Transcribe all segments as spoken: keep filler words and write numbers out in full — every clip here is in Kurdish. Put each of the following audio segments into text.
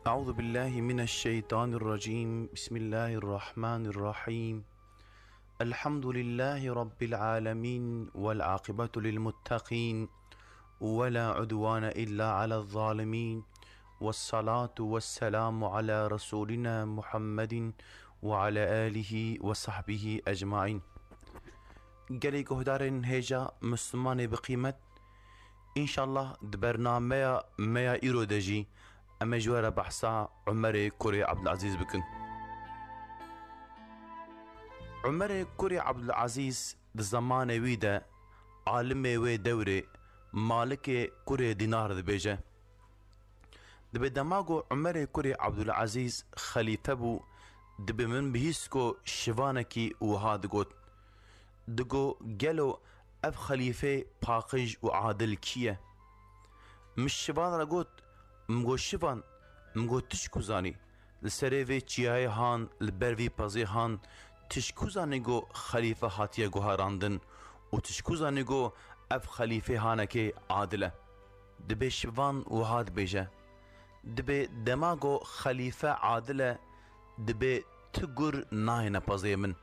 أعوذ بالله من الشيطان الرجيم. بسم الله الرحمن الرحيم. الحمد لله رب العالمين، والعاقبة للمتقين، ولا عدوان إلا على الظالمين، والصلاة والسلام على رسولنا محمد وعلى آله وصحبه أجمعين. Gelê guhdarên hêja Mislimanê bi qîmet, înşallah di bernameya me ya îro de jî em ê ji we re behsa Umerê kurê Abdulazîz bikin. Umerê kurê Abdulazîz di zemanê wî de alimê wê dewrê Malikê kurê Dînar dibêje. Dibê dema ku Umerê kurê Abdulazîz xelîfe bû, dibê min bihîst ku şivanekî wiha digot. Digo, gelo ev xelîfê paqij û adil kî ye? Min şivan re got, min got, şivan, min got, tu ji ku zanî? Li serê vê çiyayê han, li ber vî pezê han, tu ji ku zanî ku xelîfe hatiye guherandin û tu ji ku zanî ku ev xelîfê hanekê adil e? Dibê şivan wiha dibêje, dibê dema ku xelîfe adil e, dibê tu gur nayêne pezê min.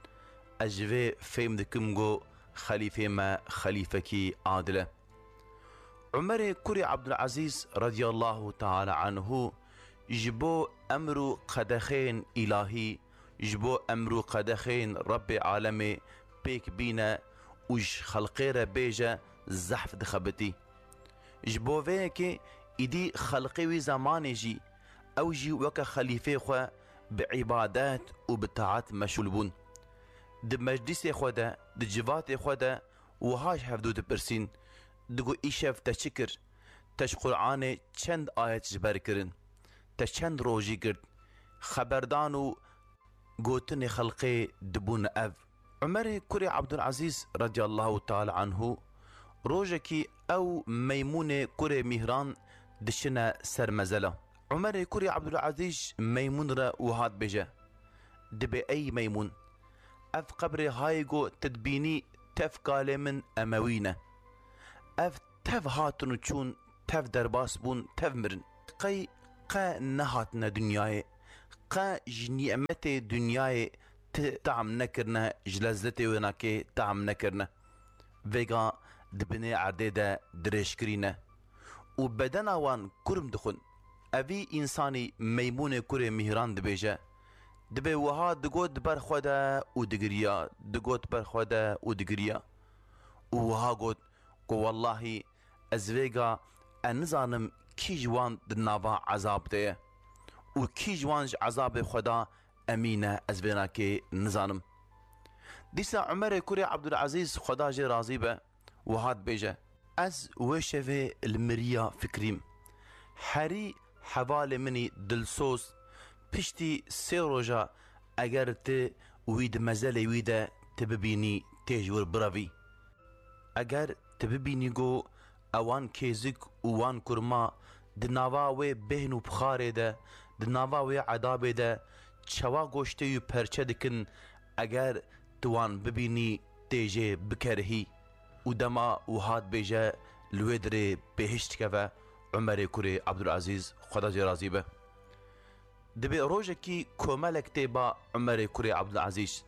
Ez ji vê fêm dikim ku xelîfê me xelîfekî adil e. Umerê kurê Abdulazîz radiyallahu teala anhu ji bo emr û qedexeyên îlahî, ji bo emr û qedexeyên Rebbê alemê pêk bîne û ji xelqê re bêje, zehf dixebitî. Ji bo vê yekê îdî xelqê wî zemanê jî ew jî weke xelîfê xwe bi îbadet û bi taet meşûl bûn. Di meclîsê xwe de, di civatê xwe de wiha ji hevdû dipirsîn, digo, îşev te çi kir? Te ji Qur'anê çend ayet ji ber kirin? Te çend rojî girt? Xeberdan û gotinê xelqê dibûn ev. Umerê kurê Abdulazîz radiyallahu teala anhu rojekî ew Meymûnê kurê Mîhran dişine ser mezela. Umerê kurê Abdulazîz Meymûn re wiha dibêje, dibê ey Meymûn, ev qebrê hayê ku tu dibînî tev kalê min Emewî ne. Ev tev hatin û çûn, tev derbas bûn, tev mirin. Qey qe nehatine dinyayê, qe ji nîmetê dinyayê ti tam nekirine, ji lezzetê wênakê tam nekirine. Vêga di binê erdê de dirêjkirî ne û bedena wan kurm dixwin. Evî însanî Meymûnê kurê Mîhran dibêje, dibê wiha digot di ber xwe de û digiriya, digot di ber xwe de û digiriya. Û wiha got ku wellahî ez vêga e nizanim kî ji wan di nava ezab de ye û kî ji wan ji ezabê Xweda emîn e, ez vênakê nizanim. Dîsa Umerê kurê Abdulazîz, Xweda jê razî be, wiha dibêje, ez wê şevê li miriya fikirîm. Herî hevalê min î dilsoz, piştî sê roja eger ti wî di mezelê wî de ti bibînî, tê ji wir birevî. Eger ti bibînî ku ewan kêzik û wan kurma di nava wê bêhn û pixarê de, di nava wê edabê de çawa goştê wî perçe dikin, eger tu wan bibînî, tê jê bikerihî. Û dema wiha dibêje, li wê dirê bêhişt dikeve Umerê kurê Abdulazîz, Xweda jê razî be. Dibê rojekî komelek tê ba Umerê kurê Abdulazîz.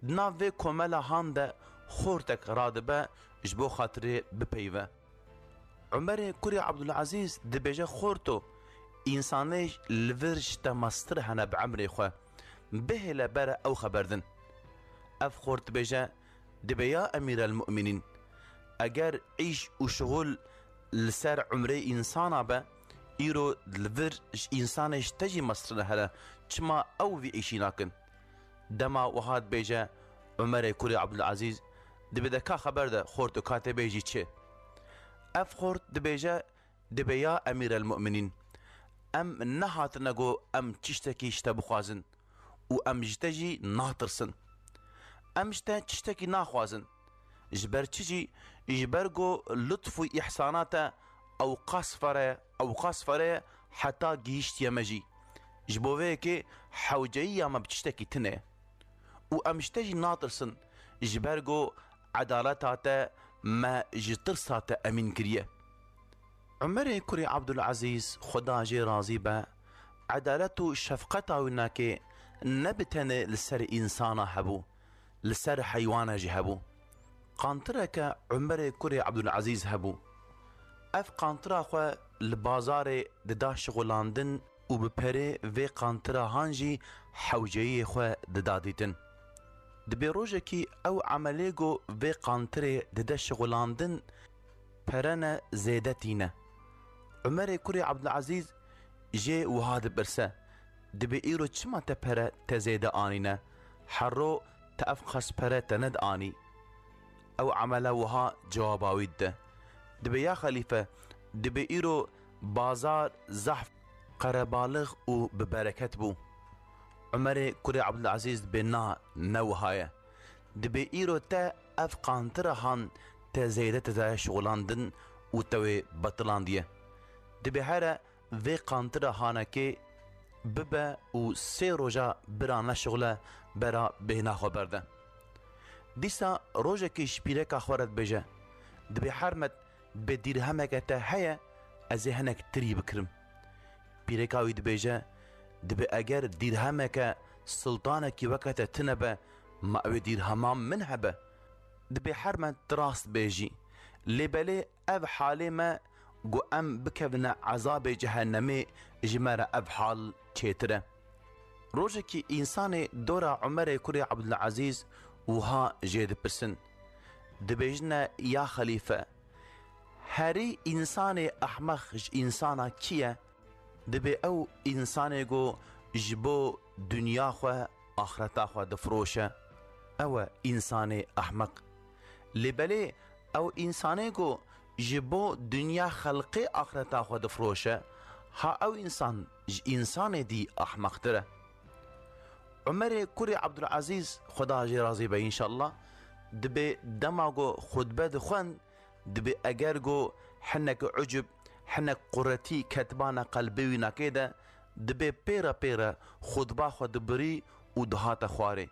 Di nav vê komela han de xortek radibe ji bo xatirê bipeyve. Umerê kurê Abdulazîz dibêje, xorto, însanê li vir ji te mestir hene bi emrê xwe. Bihêle bere ew xeber din. Ev xort dibêje, dibê ya Emîrelmumînîn, eger îş û şixul li ser umrê însana be, îro li vir ji însanê ji te jî mestir hene, çima ew vî îşî nakin? Dema wiha dibêje, Umerê kurê Abdulazîz, dibê de ka xeber de, xorto, ka tê bêjî çi? Ev xort dibêje, dibê ya Emîrelmumînîn, em nehatine ku em tiştekî ji te bixwazin û em ji te jî natirsin. Em ji te tiştekî naxwazin. Ji ber çi jî? Ji ber ku lutf û îhsana te ew qas fere, ew qas fere heta gihîştiye me jî. Ji bo vê yekê hewceyiya me bi tiştekî tune ye. Û em ji te jî natirsin, ji ber ku edaleta te me ji tirsa te emîn kiriye. Umerê kurê Abdulazîz, Xweda jê razî be, edalet û şefqeta wî nake ne bi tenê li ser însana hebû, li ser heywana jî hebû. Qantireke Umerê kurê Ebdulezîz hebû. Ev qantira xwe li bazarê dida şixulandin û bi perê vê qantira han jî hewceyiyê xwe dida dîtin. Dibê rojekî ew emelê ku vê qantirê dide şixulandin pere ne zêde tîne. Umerê kurê Ebdulezîz jê wiha dipirse, dibê îro çima te pere te zêde anîne? Herro te ev qas pere te nedianî? Ew emele wiha cewaba wî dide. Dibê ya xelîfe, dibê îro bazar zehf qerebalix û bi bereket bû. Umerê kurê Ebdulezîz dibê na, ne wiha ye. Dibê îro te ev qantira han te zêde te daye şixulandin û te wê betilandiye. Dibê here vê qantira hanekê bibe û sê roja bira neşixule bera bêhna xwe berde. Dîsa rojekê ji pîreka xwe re dibêje, dibê hermet bi dîrhemeke te heye, ez ê hinek tirî bikirim. Pîreka wî dibêje, dibê eger dîrhemeke siltanekî weke te tine be, ma ew ê dîrheman min hebe? Dibê hermet tu rast bêjî. Lê belê ev halê me ku em bikevine ezabê cehennemê ji me re ev hal çêtir e. Rojekî însanê dora Umerê kurê Ebdulezîz wiha jê dipirsin. Dibêjine ya xelîfe, herî însanê ehmeq ji însana kî ye? Dibê ew însanê ku ji bo dinya xwe, axreta xwe difiroşe, ew e însanê ehmeq. Lê belê ew însanê ku ji bo dinya xelqê axreta xwe difiroşe, ha ew însan ji însanê dî ehmeqtir e. Umerê kurê Ebdulezîz, Xweda jê razî be înşallah, dibê dema ku xutbe dixwend, dibê eger ku hinek ucub, hinek quretî ketibana qelbê wî nakê de, dibê pêre pêre xutba xwe dibirî û dihate xwarê.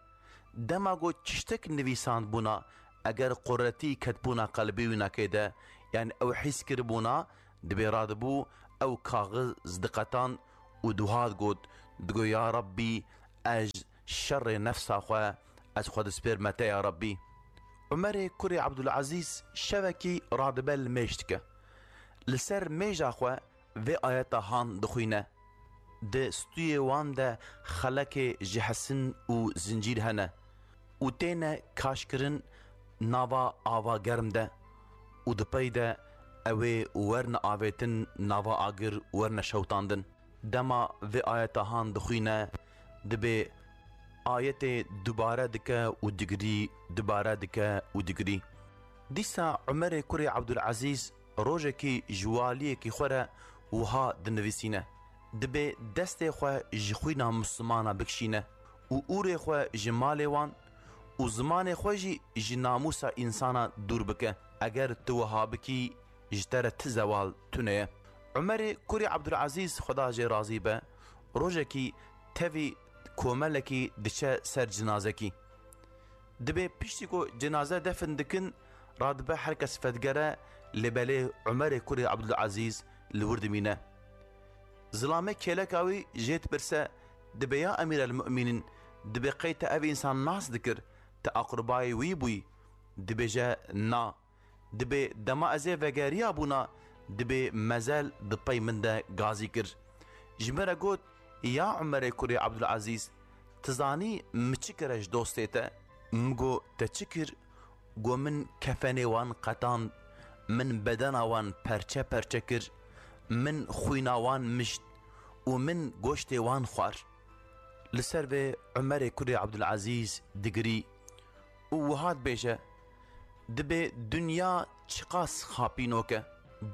Dema ku tiştek nivîsandbûna, eger quretî ketibûna qelbê wî nakê de, yani ew hîs kiribûna, dibê radibû ew kaxiz diqetan û dihat got, digo, ya Rabbî, ez şerê nefsa xwe, ez xwe dispêrme te ya Rabbî. Umerê kurê Ebdulezîz şevekî radibe li mêj dike. Li ser mêja xwe vê ayeta han dixwîne. Di stûyê wan de xelekê ji hesin û zincîr hene û têne kaşkirin nava ava germ de û di pey de ew ê werne avêtin nava agir, werne şewtandin. Dema vê ayeta han dixwîne, dibê ayetê dubare dike û digirî, dubare dike û digirî. Dîsa Umerê kurê Ebdulezîz rojekî ji waliyekî xwe re wiha dinivîsîne, dibê destê xwe ji xwîna Mislimana bikişîne û ûrê xwe ji malê wan û zimanê xwe jî ji namûsa însana dûr bike. Eger tu wiha bikî, ji te re ti zewal tune ye. Umerê kurê Ebdulezîz, Xweda jê razî be, rojekî tevî komelekî diçe ser cinazekî. Dibê piştî ku cenaze defin dikin, radibe her kes vedigere, lê belê Umerê kurê Ebdulezîz li wir dimîne. Zilamê kêleka wî jê dipirse, dibê ya Emîr el Mumînîn, dibê qey te ev însan nas dikir, te aqribayê wî bûyî? Dibêje na. Dibê dema ez ê vegeriyabûna, dibê mezel di pey min de gazî kir. Ji min re got, ya Umerê kurê Ebdulezîz, tu zanî min çi kire ji dostê te? Min got, te çi kir? Got, min kefenê wan qetand, min bedena wan perçe perçe kir, min xwîna wan mişt û min goştê wan xwar. Li ser vê Umerê kurê Ebdulezîz digirî û wiha dibêje, dibê dinya çiqas xapînok e.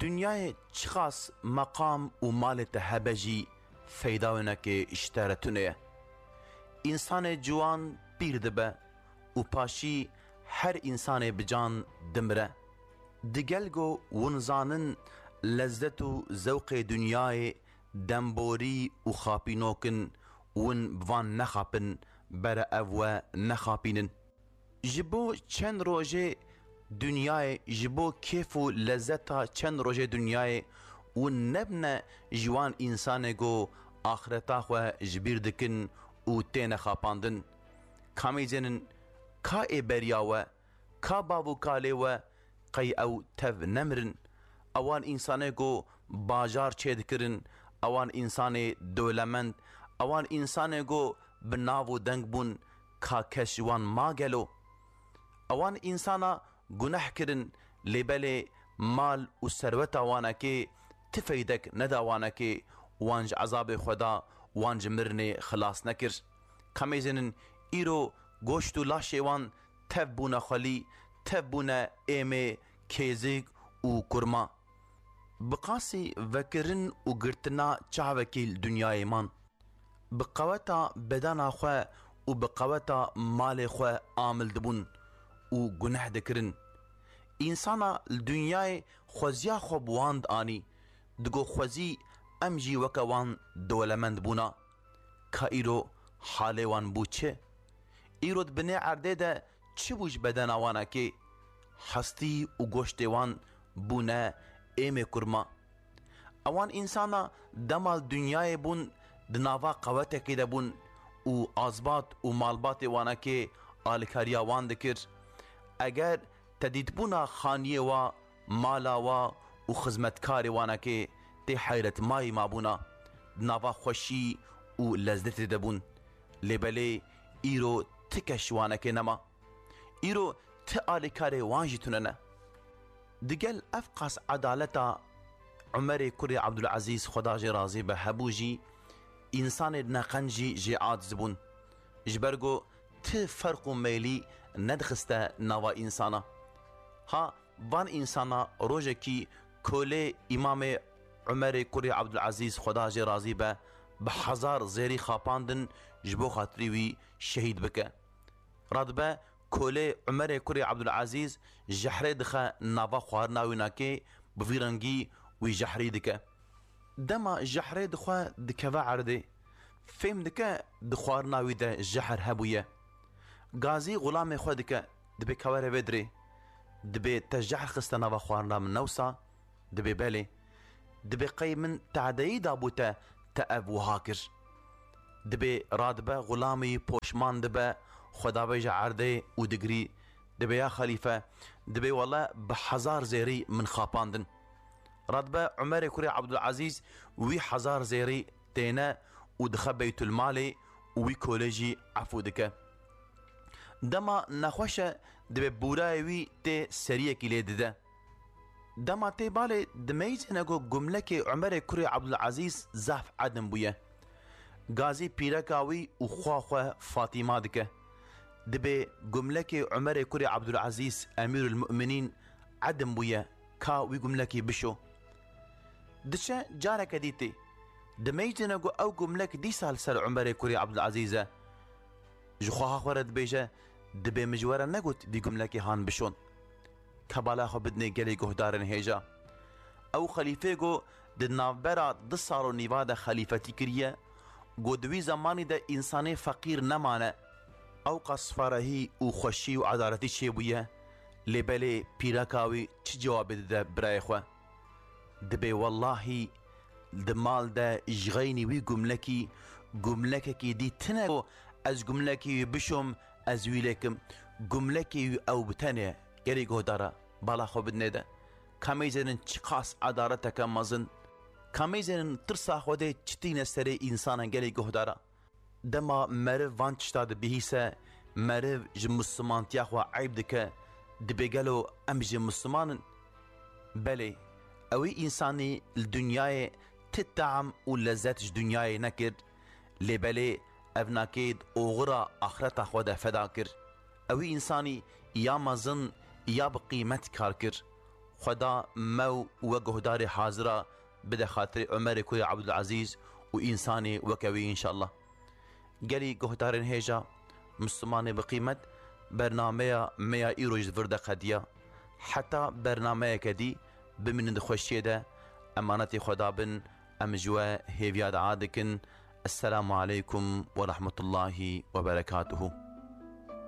Dinyayê çiqas meqam û malê te hebe jî feyda winekê ji te re tune ye. Însanê ciwan pîr dibe û paşî her însanê bi can dimire. Digel ku win zanin lezzet û zewqê dinyayê demborî û xapînok in, win bi van nexapin, bere ev we nexapînin. Ji bo çend rojê dinyayê, ji bo kêf û lezzeta çend rojê dinyayê, win nebine ji wan însanê ku axireta xwe ji bîr dikin û têne xapandin. Ka mêzênin, ka ê beriya we, ka bav û kalê we, qey ew tev nemirin? Ewan însanê ku bajar çêdikirin, ewan însanê dewlemend, ewan însanê ku bi nav û deng bûn, ka kes ji wan ma gelo? Ewan însana guneh kirin, lê belê mal û serweta wanekê ti feydek neda wanekê, wan ji ezabê Xweda, wan ji mirinê xilas nekir. Ka mêzênin, îro goşt û laşê wan tev bûne xwelî, tev bûne êmê, kêzik û kurma. Bi qasî vekirin û girtina çavekî li dinyayê man. Bi qeweta bedena xwe û bi qeweta malê xwe amil dibûn û guneh dikirin. Însana li dinyayê xweziya xwe bi wan dianî, digo xwezî em jî weke wan dewlemend bûna. Ka îro halê wan bû çi? Îro di binê erdê de çi bû ji bedena wanekê? Hestî û goştê wan bûne êmê kurma. Ewan însana dema li dinyayê bûn, di nava qewetekê de bûn û azbat û malbatê wanekê alîkariya wan dikir. Eger te dîtbûna xaniyê wa, mala wa û xizmetkarê wanekê tê heyretmayî mabûna, di nava xweşî û lezzetê de bûn. Lê belê îro ti kes ji wanekê nema. Îro ti alîkarê wan jî tune ne. Digel ev qas edaleta Umerê kurê Abdulazîz, Xweda jê razî be, hebû jî, însanê neqenc jî jê aciz bûn. Ji ber ku ti ferq û meylî nedixiste nava însana. Ha, van însana rojekî kolê Îmamê Umerê kurê Abdulazîz, Xweda jê razî be, bi hezar zêrî xapandin ji bo xatirî wî şehîd bike. Radibe kolê Umerê kurê Abdulazîz jehrê dixe nava xwarina wî nakê, bi vî rengî wî jehrî dike. Dema jehrê dixwe dikeve erdê, fêm dike di xwarina wî de jehr hebûye. Gazî xulamê xwe dike, dibê ka were vê dirê. Dibê te jehr xiste nava xwarina min, ne wisa? Dibê belê. Dibê qey min tadeyî dabû te, te ev wiha kir. Dibê radibe xulamê wî poşman dibe, xwe davêje erdê û digirî. Dibê ya xelîfe, dibê wele bi hezar zêrî min xapandin. Radibe Umerê kurê Abdulazîz wî hezar zêrî têne û dixe Beytulmalê û wî kolê jî efû dike. Dema nexweş e, dibê bûrayê wî tê seriyekî lê dide. Dema tê balê, dimeyzêne ku gumlekê Umerê kurê Abdulazîz zaf edim bûye. Gazî pîreka wî û xwa xwe Fatîma dike. Dibê gumlekê Umerê kurê Abdulazîz, Emîrul Mu'minîn, edim bûye, ka wî gumlekî bişo. Diçe careke dî tê. Dimeyzêne ku ew gumlek dîsa li ser Umerê kurê Abdulazîz e. Ji xweha xwe re dibêje, dibê min ji we re negot vî gumlekê han bişon. Ka bala xwe bidinê gelê guhdarên hêja. Ew xelîfê ku di navbera du sal û nîva de xelîfetî kiriye, ku di wî zemanî de însanê feqîr nemane. Ew qas farehî û xweşî û edaletî çêbûye, lê belê pîreka wî çi cewabê dide birayê xwe? Dibê wellahî di mal de ji xeynî wî gumlekî, gumlekekî dî tine ku ez gumlekî wî bişom, ez wî lêkim. Gumlekê wî ew bi tenê, gelê guhdara, bala xwe bidinê de. Ka mêzênin çiqas edaleteke mezin. Ka mêzênin tirsa Xwedê çi tîne serê însanan, gelê guhdara. Dema meriv van tişta dibihîse, meriv ji Mislimantiya xwe eyb dike, dibê gelo em jî Misliman in? Belê, ewî însanî li dinyayê ti tam û lezet ji dinyayê nekir, lê belê ev nakê di oxira axireta xwe de feda kir. Ewî însanî ya mezin ya bi qîmet kar kir. Xweda me û we guhdarê hazira bide xatirê Omerê kurê Abdulazîz û însanê weke wî înşallah. Gelî guhdarên hêja, Mislimanê bi qîmet, bernameya me ya îro ji vir de qediya. Heta bernameyeke dî, bimînin di xweşiyê de, emanetê Xweda bin, em ji we hêviya dua dikin. Esselamu aleykum ve rahmetullahi ve berekatuhu.